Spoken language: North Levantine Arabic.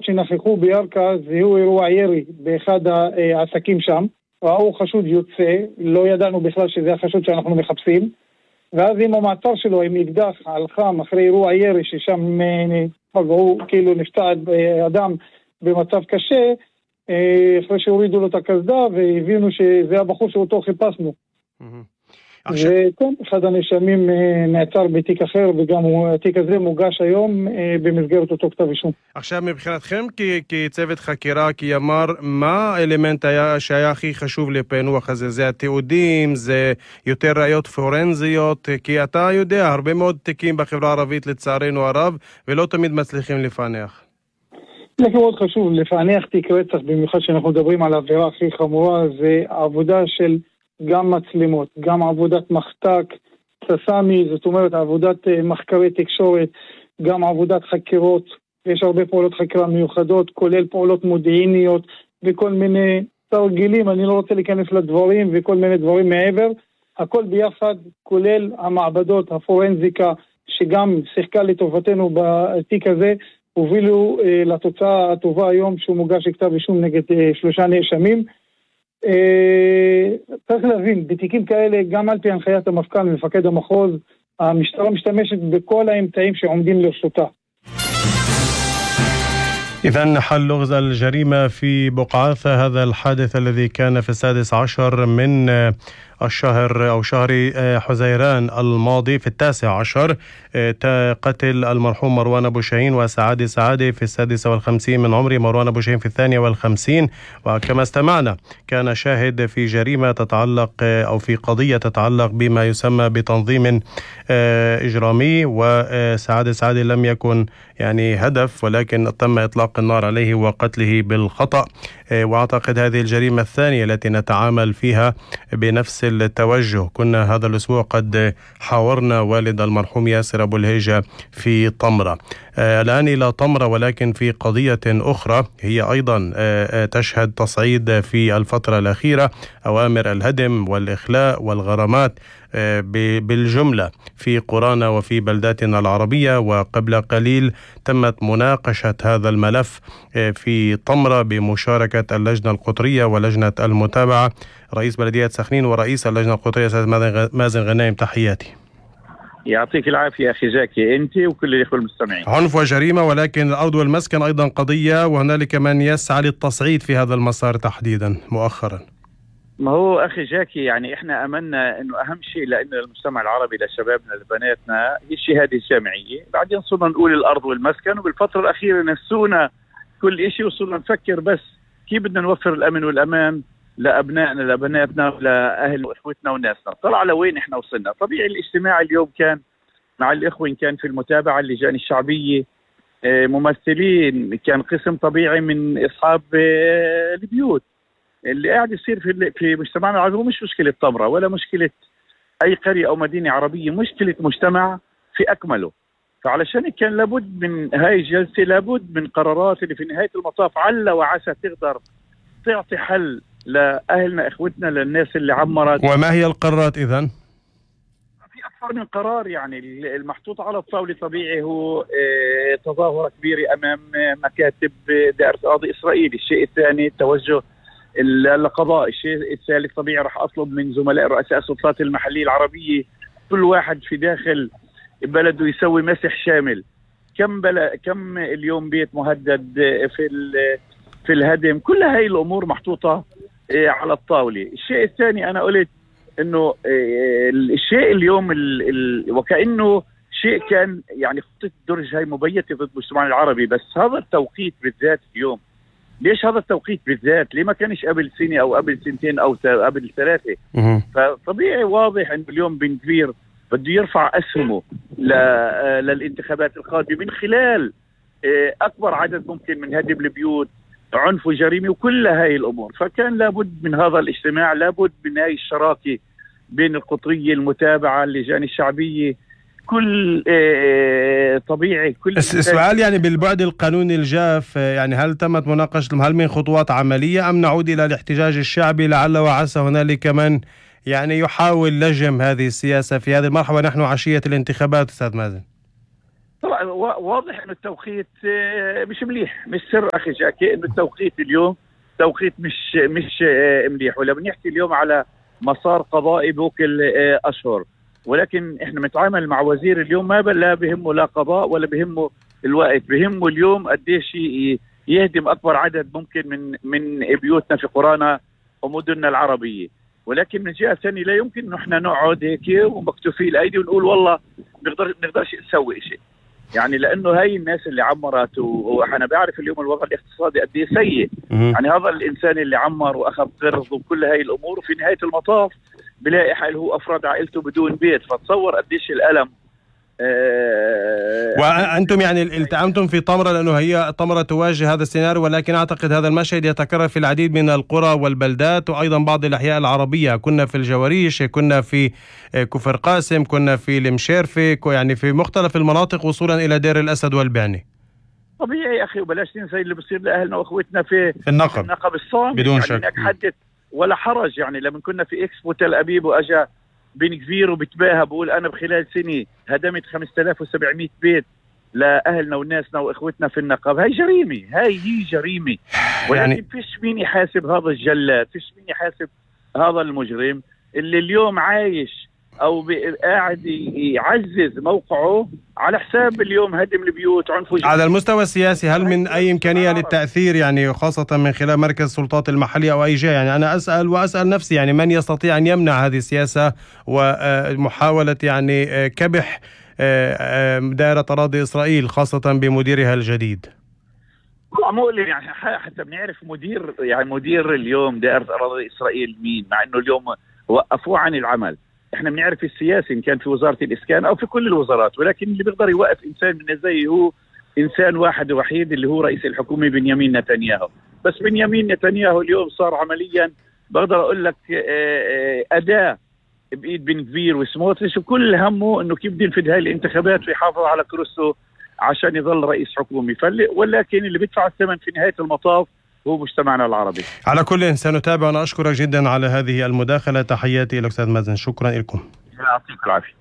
שנכחו בירכא זיהו אירוע ירי באחד העסקים שם, ראו חשוד יוצא, לא ידענו בכלל שזה החשוד שאנחנו מחפשים, ואז עם המעצר שלו עם אקדח על חם אחרי אירוע ירי ששם פגעו, כאילו נפצע אדם במצב קשה, אחרי שהורידו לו את הקסדה והבינו שזה הבחור שאותו חיפשנו. וכן, אחד הנאשמים נעצר בתיק אחר, וגם התיק הזה מוגש היום במסגרת אותו כתב אישום. עכשיו מבחינתכם כצוות חקירה, כי אמר, מה האלמנט שהיה הכי חשוב לפענוח הזה? זה התיעודים, זה יותר ראיות פורנזיות? כי אתה יודע, הרבה מאוד תיקים בחברה הערבית לצערנו הרב, ולא תמיד מצליחים לפענח. זה מאוד חשוב לפענח תיק רצח, במיוחד שאנחנו מדברים על העבירה הכי חמורה, זה העבודה של גם מצלמות, גם עבודת מחתק, ססמי, זאת אומרת עבודת מחקרי תקשורת, גם עבודת חקירות, יש הרבה פעולות חקירה מיוחדות, כולל פעולות מודיעיניות וכל מיני תרגילים, אני לא רוצה להיכנס לדברים וכל מיני דברים מעבר, הכל ביחד, כולל המעבדות, הפורנזיקה, שגם שיחקה לטובתנו בתיק הזה, הובילו לתוצאה הטובה היום שהוא מוגש כתב אישום נגד 3 נאשמים. צריך להבין, בתיקים כאלה, גם על פי הנחיית המפכ"ל ומפקד המחוז, המשטרה משתמשת בכל האמצעים שעומדים לרשותה. إذن حل لغز الجريمة في بقعاثة، هذا الحادث الذي كان في 16 من الشهر أو شهر حزيران الماضي في 19، قتل المرحوم مروان أبو شاهين وسعادة سعادة في 56 من عمره، مروان أبو شاهين في 52. وكما استمعنا كان شاهد في جريمة تتعلق أو في قضية تتعلق بما يسمى بتنظيم إجرامي، وسعادة سعادة لم يكن يعني هدف، ولكن تم إطلاق النار عليه وقتله بالخطأ. وأعتقد هذه الجريمة الثانية التي نتعامل فيها بنفس التوجه. كنا هذا الأسبوع قد حاورنا والد المرحوم ياسر أبو الهيجة في طمرة. الآن إلى طمرة، ولكن في قضية أخرى هي أيضا تشهد تصعيد في الفترة الأخيرة، أوامر الهدم والإخلاء والغرامات بالجملة في قرانا وفي بلداتنا العربية. وقبل قليل تمت مناقشة هذا الملف في طمرة بمشاركة اللجنة القطرية ولجنة المتابعة، رئيس بلدية سخنين ورئيس اللجنة القطرية سيد مازن غنايم. تحياتي. يعطيك العافية أخي زكي، أنت وكل الإخوة المستمعين. عنف وجريمة، ولكن الأرض والمسكن أيضا قضية، وهنالك من يسعى للتصعيد في هذا المسار تحديدا مؤخرا. ما هو أخي جاكي، يعني إحنا أملنا إنه أهم شيء لأن المجتمع العربي لشبابنا لبناتنا هي الشهادة الجامعية، بعدين صرنا نقول الأرض والمسكن، وبالفترة الأخيرة نسونا كل إشي وصرنا نفكر بس كيف بدنا نوفر الأمن والأمان لأبنائنا لبناتنا لأهل وإخوتنا وناسنا. طلع لوين إحنا وصلنا. طبيعي الاجتماع اليوم كان مع الإخوة إن كان في المتابعة اللجان الشعبية ممثلين، كان قسم طبيعي من أصحاب البيوت. اللي قاعد يصير في مجتمعنا العربي مش مشكلة طمرة ولا مشكلة أي قرية أو مدينة عربية، مشكلة مجتمع في أكمله. فعلشان كان لابد من هاي الجلسة، لابد من قرارات اللي في نهاية المطاف عل وعسى تقدر تعطي حل لأهلنا إخوتنا للناس اللي عمرت. وما هي القرارات إذن؟ في أكثر من قرار، يعني المحطوط على الطاولة طبيعي هو تظاهرة كبيرة أمام مكاتب دائرة قاضي إسرائيل. الشيء الثاني التوجه القضاء. الشيء الثالث طبيعي راح أطلب من زملاء رؤساء السلطات المحلية العربية كل واحد في داخل بلده يسوي مسح شامل. كم اليوم بيت مهدد في الهدم. كل هاي الأمور محطوطة على الطاولة. الشيء الثاني أنا قلت إنه الشيء اليوم وكأنه شيء كان يعني خطة درج هاي مبيتة ضد المجتمع العربي، بس هذا التوقيت بالذات اليوم. ليش هذا التوقيت بالذات؟ ليه ما كانش قبل سنة أو قبل سنتين أو قبل 3؟ فطبيعي واضح إنه اليوم بن كبير بده يرفع أسهمه للانتخابات القادمة من خلال أكبر عدد ممكن من هدم البيوت، عنف وجريمة وكل هاي الأمور. فكان لابد من هذا الاجتماع، لابد من هاي الشراكة بين القطرية المتابعة اللجان الشعبية. كل طبيعي كل السؤال يعني بالبعد القانوني الجاف، يعني هل تمت مناقشة، هل من خطوات عملية أم نعود إلى الاحتجاج الشعبي لعل وعسى هنالك من يعني يحاول لجم هذه السياسة في هذه المرحلة ونحن عشية الانتخابات؟ أستاذ مازن. طبعا واضح انه التوقيت مش مليح، مش سر اخي جاكي انه التوقيت اليوم توقيت مش مليح، ولا بنحكي اليوم على مسار قضائي بوكل اشهر، ولكن احنا بنتعامل مع وزير اليوم ما لا بهمه لا قضاء ولا بهمه الوقت، بهمه اليوم قديش يهدم اكبر عدد ممكن من بيوتنا في قرانا ومدننا العربيه. ولكن من جهه ثانيه لا يمكن انه احنا نقعد هيك ومكتوفي الايدي ونقول والله بنقدرش نسوي شيء، يعني لانه هاي الناس اللي عمرت وانا بعرف اليوم الوضع الاقتصادي قد ايه سيء، يعني هذا الانسان اللي عمر واخذ قرض وكل هاي الامور وفي نهايه المطاف بلاقي حاله هو افراد عائلته بدون بيت، فتصور قديش الالم. وأنتم يعني التأمتم في طمرة لأنه هي طمرة تواجه هذا السيناريو، ولكن أعتقد هذا المشهد يتكرر في العديد من القرى والبلدات وأيضا بعض الأحياء العربية. كنا في الجواريش، كنا في كفر قاسم، كنا في المشيرفة، يعني في مختلف المناطق وصولا إلى دير الأسد والبعني. طبيعي يا أخي، وبلاش ننسى اللي بصير لأهلنا وأخوتنا في النقب الصامت بدون يعني شك. حدث ولا حرج. يعني لما كنا في إكسبو تل أبيب وأجا بن كبير وبتباهى بقول أنا بخلال سنة هدمت 5700 بيت لأهلنا وناسنا وإخوتنا في النقب، هاي جريمة، هي جريمة. ولكن يعني فيش مين يحاسب هذا الجلاد، فيش مين يحاسب هذا المجرم اللي اليوم عايش أو قاعد يعزز موقعه على حساب اليوم هدم البيوت عنف. على المستوى السياسي هل من أي إمكانية للتأثير، يعني خاصة من خلال مركز السلطات المحلية أو أي جهة؟ يعني أنا أسأل نفسي يعني من يستطيع أن يمنع هذه السياسة ومحاولة يعني كبح دائرة أراضي إسرائيل خاصة بمديرها الجديد؟ مؤلم يعني، حتى بنعرف مدير اليوم دائرة أراضي إسرائيل مين، مع إنه اليوم وقفوه عن العمل. احنا بنعرف السياسي ان كان في وزارة الاسكان او في كل الوزارات، ولكن اللي بيقدر يوقف انسان من زي هو انسان واحد وحيد اللي هو رئيس الحكومة بنيامين نتنياهو. بس بنيامين نتنياهو اليوم صار عمليا بقدر اقول لك اداة بايد بن كبير وسموتريتش، وكل همه انه كيف بده ينفذ هاي الانتخابات ويحافظ على كرسيه عشان يظل رئيس حكومي. ولكن اللي بيدفع الثمن في نهاية المطاف هو مجتمعنا العربي. على كل سنتابع. أنا أشكرك جدا على هذه المداخلة. تحياتي إلى أستاذ مازن، شكرا لكم. يعطيك العافية.